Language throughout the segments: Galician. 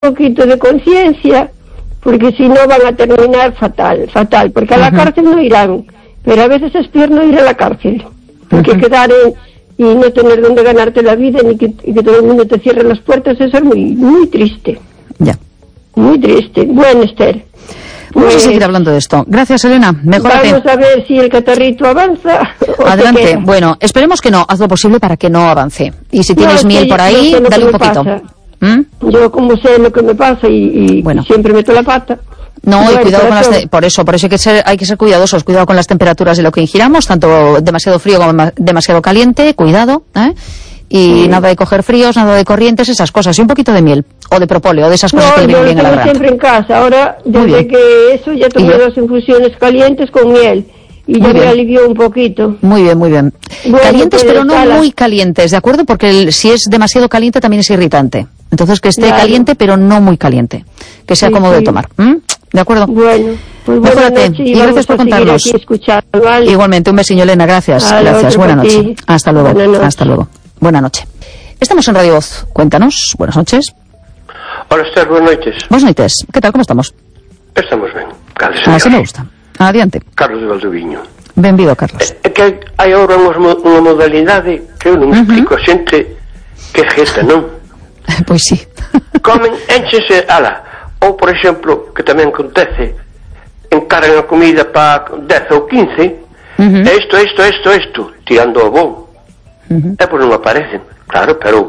poquito de conciencia, porque si no van a terminar fatal, porque a la cárcel no irán, pero a veces es peor no ir a la cárcel, porque quedar y no tener donde ganarte la vida, ni que todo el mundo te cierre las puertas, eso es muy, muy triste. Ya. Muy triste. Bueno, Esther, vamos a seguir hablando de esto. Gracias, Elena. Mejórate. Vamos a ver si el catarrito avanza. Adelante. Bueno, esperemos que no. Haz lo posible para que no avance. Y si tienes miel por ahí, dale un poquito. Yo como sé lo que me pasa y bueno, siempre meto la pata. No, y cuidado con por eso hay que ser cuidadosos, cuidado con las temperaturas de lo que ingiramos, tanto demasiado frío como demasiado caliente, cuidado, y nada de coger fríos, nada de corrientes, esas cosas, y un poquito de miel, o de propóleo, de esas cosas que le vienen bien a la garganta. Siempre en casa, ahora desde que eso ya tomé 2 infusiones calientes con miel. Y ya me alivió un poquito. Muy bien, muy bien. Bueno, calientes, pero no muy calientes, ¿de acuerdo? Porque si es demasiado caliente también es irritante. Entonces que esté caliente, pero no muy caliente. Que sea cómodo de tomar. ¿De acuerdo? Bueno, pues mejórate. Y gracias por contarnos. ¿Vale? Igualmente, un besillo, Elena. Gracias. Gracias. Buenas noches. Hasta luego. Hasta luego. Buenas noches. Estamos en Radio Voz. Cuéntanos. Buenas noches. Hola, Esther. Buenas noches. Buenas noches. ¿Qué tal? ¿Cómo estamos? Estamos bien. Así me gusta. Adiante. Carlos de Valdoviño. Benvido, Carlos. É que hai agora unha modalidade que eu non explico a xente que é jeta, non? Pois sí. Comen, énchese, ou por exemplo, que tamén acontece, encargan a comida para 10 ou 15, isto, tirando o bo. E pois non aparecen, claro, pero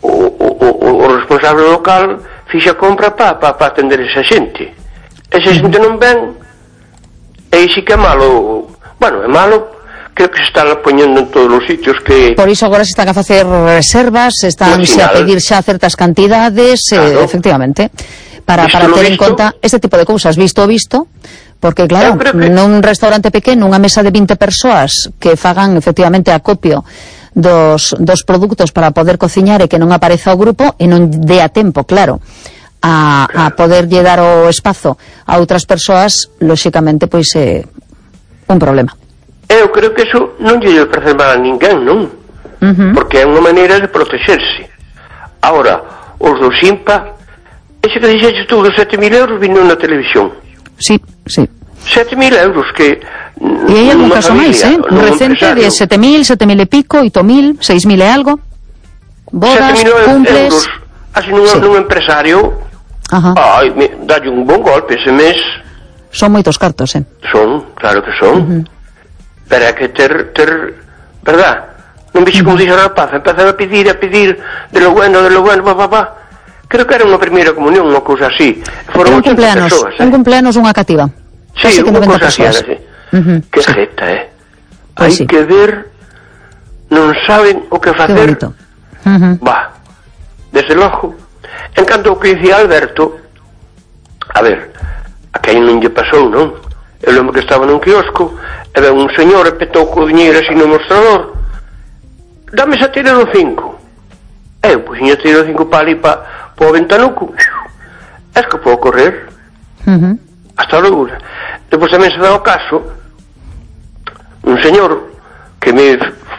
o responsable local fixa compra para atender esa xente. Esa xente non ven. E sí que é malo, bueno, é malo, creo que se están poñendo en todos os sitios que... Por iso agora se están a facer reservas, están a pedir xa certas cantidades, efectivamente, para ter en conta este tipo de cousas, visto, porque claro, nun restaurante pequeno, unha mesa de 20 persoas que fagan efectivamente acopio dos produtos para poder cociñar e que non apareza o grupo e non dé a tempo, claro, a poder lle dar o espazo a outras persoas, lóxicamente, pois é un problema. Eu creo que eso non lle parece mal a ninguén, non? Porque é unha maneira de protexerse. Ahora, os do Simpa, ese que dixeches tú dos 7.000 euros vino na televisión. Sí. 7.000 euros que... E hai algún caso máis, un recente de 7.000 e pico, 8.000, 6.000 e algo. Bodas, cumples... Así nun empresario... dalle un bon golpe ese mes. Son moitos cartos, Son, claro que son. Pero hai que ter verdad, non vixe como dixo a rapaz, empezaba a pedir de lo bueno, creo que era unha primeira comunión, unha cousa así. Foron 80 persoas, un cumpleanos, unha cativa. Sí, unha cousa así, que jeta, hai que ver, non saben o que facer. Desde logo. En canto ao que dicía Alberto, a ver, a quen non lle pasou, non? Eu lembro que estaba nun quiosco e ven un señor e petou co diñeiro así no mostrador. Dame esa tira do 5. Eu, pois, a tira do 5 para ali, para o ventanuco. Es que podo correr. Hasta logo. Depois tamén se dá o caso un señor que me...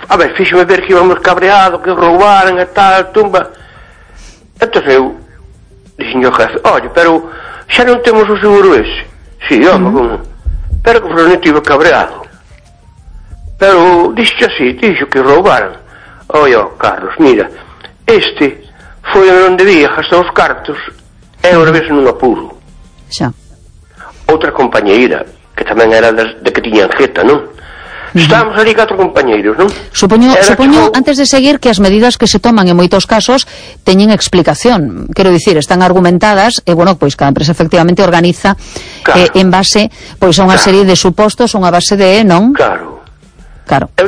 A ver, fíxome ver que íbamos cabreado, que roubaran e tal, tumba... Entón eu dixen ao jefe, oye, pero xa non temos o seguro ese. Si, pero que non tive cabreado. Pero dixo así, dixo que roubaran. Oye, Carlos, mira, este foi onde debía gastar os cartos e agora vese nun apuro. Xa. Outra compañeira, que tamén era de que tiñan jeta, non? Estábamos ali 4 compañeiros, non? Supoño, antes de seguir, que as medidas que se toman en moitos casos teñen explicación. Quero dicir, están argumentadas e, bueno, pois cada empresa efectivamente organiza en base pois a unha serie de supostos, unha base de, non? Claro.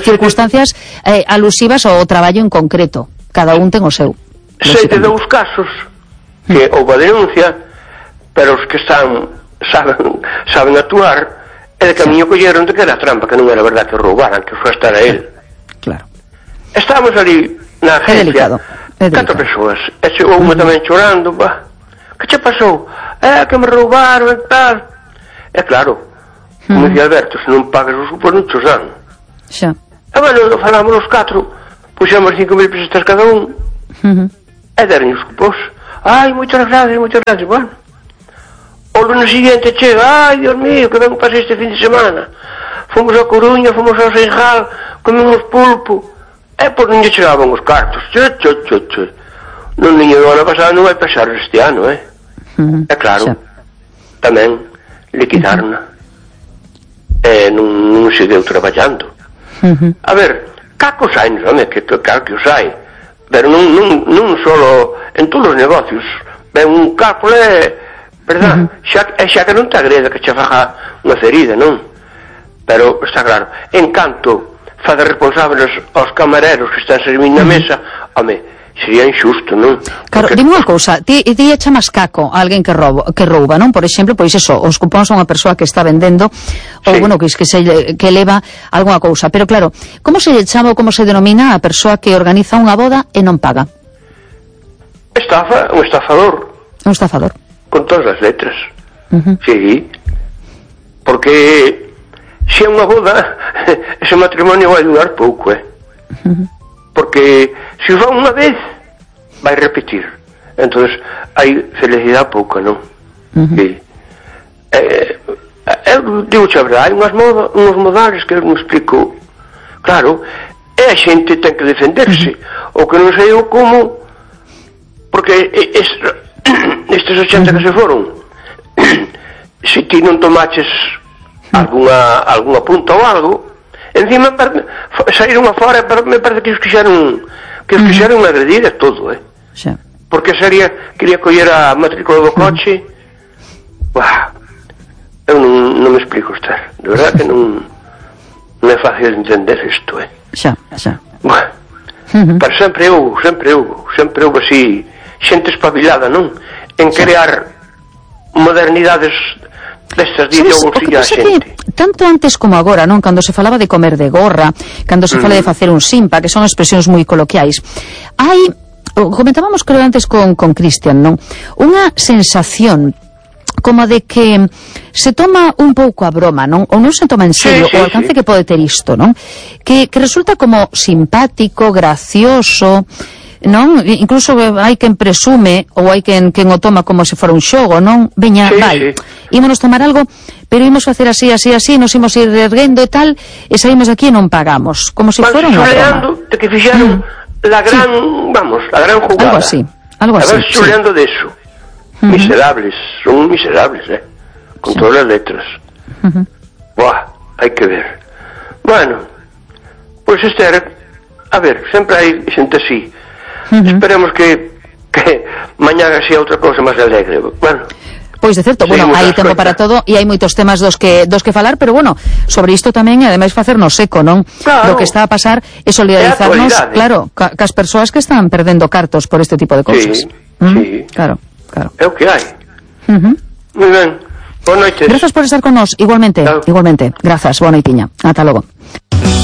Circunstancias alusivas ao traballo en concreto. Cada un ten o seu. Sei de 2 casos que houve a denuncia, pero os que saben actuar, e de camiño colleron de que era trampa, que non era verdad que roubaran, que foi estar a él. Claro. Estábamos ali na agencia, 4 persoas, e chegou unha tamén chorando, que che pasou? Que me roubaron e tal. E claro, como dicía Alberto, se non pagas os cupos non chos dan. Xa. E bueno, falamos os 4, puxemos 5.000 pesetas cada un, e deron os cupos. Ai, moitas gracias, bueno. O lunes siguiente chega, ai, Dios mío, que ben pasei este fin de semana. Fomos a Coruña, fomos ao Seixal, comemos pulpo. Pois non lle chegaban os cartos. Non niño do ano pasado non vai pasar este ano, É claro, tamén liquidarna. Non se deu traballando. A ver, cacos hai, home, que claro que os hai, pero non solo en todos os negocios. Ben un capo verdad, xa que non te agreda que che faja unha ferida, non? Pero está claro, en canto fazer responsables aos camareros que están servindo na mesa, home, sería injusto, non? Claro, dime unha cousa, ti chamas caco a alguén que rouba, non? Por exemplo, pois eso, os cupóns a unha persoa que está vendendo, ou, bueno, que leva algunha cousa. Pero claro, como se lle chama ou como se denomina a persoa que organiza unha boda e non paga? Estafa, un estafador. Un estafador. Con todas as letras. Sí. Porque se é unha boda, ese matrimonio vai durar pouco, Porque se o fan unha vez, vai repetir. Entonces, hai felicidade pouca, non? Sí. Eu digo-te a verdade, hai uns modales que eu non explico. Claro, a xente ten que defenderse. O que non sei eu como, porque estes 80 que se foron, se ti non tomaches alguna punta ou algo, encima saíron afora, me parece que os quixeron agredir a todo, porque quería coller a matrícula do coche. Eu non me explico, Esther, de verdad que non é fácil entender isto, xa. Pero sempre houve así xente espabilada, non? En crear modernidades destas de ideoloxía a xente. Tanto antes como agora, non? Cando se falaba de comer de gorra, cando se fala de facer un simpa, que son expresións moi coloquiais, comentábamos creo antes con Cristian, non? Unha sensación como de que se toma un pouco a broma, non? Ou non se toma en serio o alcance que pode ter isto, non? Que resulta como simpático, gracioso, non? Incluso hai quen presume ou hai quen o toma como se fora un xogo, non? Veña, ímonos tomar algo, pero ímos facer así, nos ímos ir erguendo e tal, e saímos aquí e non pagamos, como se fora unha broma. De que fixeron la gran jugada. Algo así. Xuleando de eso. Miserables, son miserables, con todas as letras. Hai que ver. Bueno, pois Esther, a ver, sempre hai xente así. Esperemos que mañá sea outra cousa máis alegre. Bueno, pois de certo, bueno, hai tempo para todo e hai moitos temas dos que falar, pero bueno, sobre isto tamén, ademais facernos eco, non? Claro. Do que está a pasar e solidarizarnos, claro, cas persoas que están perdendo cartos por este tipo de cousas. Sí. Claro. É o que hai. Moi ben. Boa noite. Grazas por estar con nós, igualmente. Grazas, boa noitiña. Ata logo.